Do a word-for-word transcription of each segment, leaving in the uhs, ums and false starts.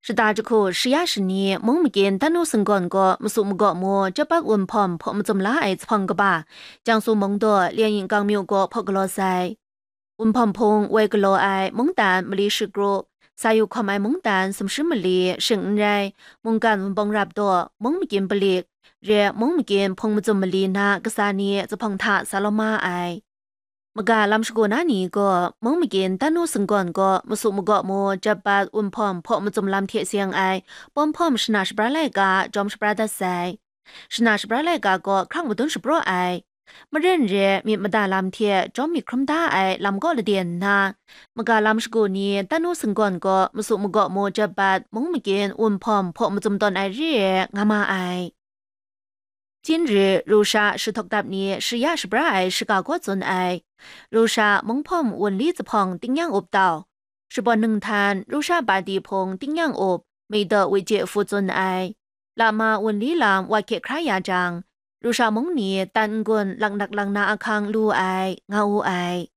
Shata jahku shaya shani mung magyin tanu singgawn gaw masu magaw mu jap bat wunhpawm hpaw macum la ai zuphpawng kaba, Jiangsu mung daw Lianying kangmyu gaw hpaw galaw sai. Wunhpawm hpung woi galaw ai mungdan mali shikru, sa yu hkawm ai mungdan sumshi mali shing n rai, mungkan wunpawng rap daw, mung magyin palik, re mung magyin hpung macum mali na kasa ni zuphpawng hta sa lawm ma ai. Maga lam shagu na ni gaw, mung magyin tanu singgawn gaw masu magaw mu jap bat wunhpawm hpaw macum lam hte seng ai pawm hpawm shana shabra laika jawm shabra dat sai. Shana shabra laika gaw hkrang madun shapraw ai. Maren re myit mada lam hte jawm myit hkrum da ai lam gaw lade nna, maga lam shagu ni tanu singgawn gaw masu magaw mu jap bat mung magyin wunhpawm hpaw macum tawn ai re ai nga ma ai. Chin ri Rusha shahtok dap ni shaya shabra ai shaga gaw tsun ai. Rusha munghpawm wunli zuphpawng tingnyang up tau, Shabawn ninghtan Rusha badi hpung tingnyang up, Meidaw Wije Fu tsun ai. Lama wunli lam wa hkye hkra ya jang, Rusha mung ni tan n-gun laknak lang na ahkang lu ai, nga wu ai.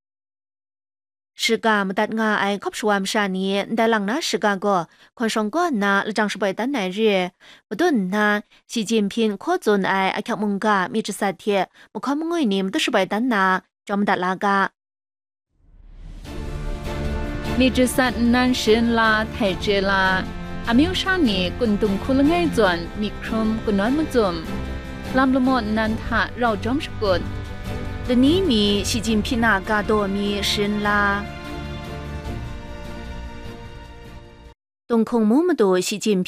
Shiga madat nga ai hkawp shawa masha ni ndai lang na shiga gaw hkawn shawng kaw nna lajang shaboi dan ai re, madun nna, Shi Jinping hkaw tsun ai ahkyak mungga myit jasat hte mahkawn mangwi ni matut shaboi dan na, jawm madat la ga. Myit jasat nnan sharin la htai chye la, amyu sha ni kun dung hku langai zawn myit hkrum kanawn macum, lam lamaw nnan hta rau jawm shakut, lani mi Shi Jinping a ga daw mi sharin la. Tunghkung mu madu Shi Jinping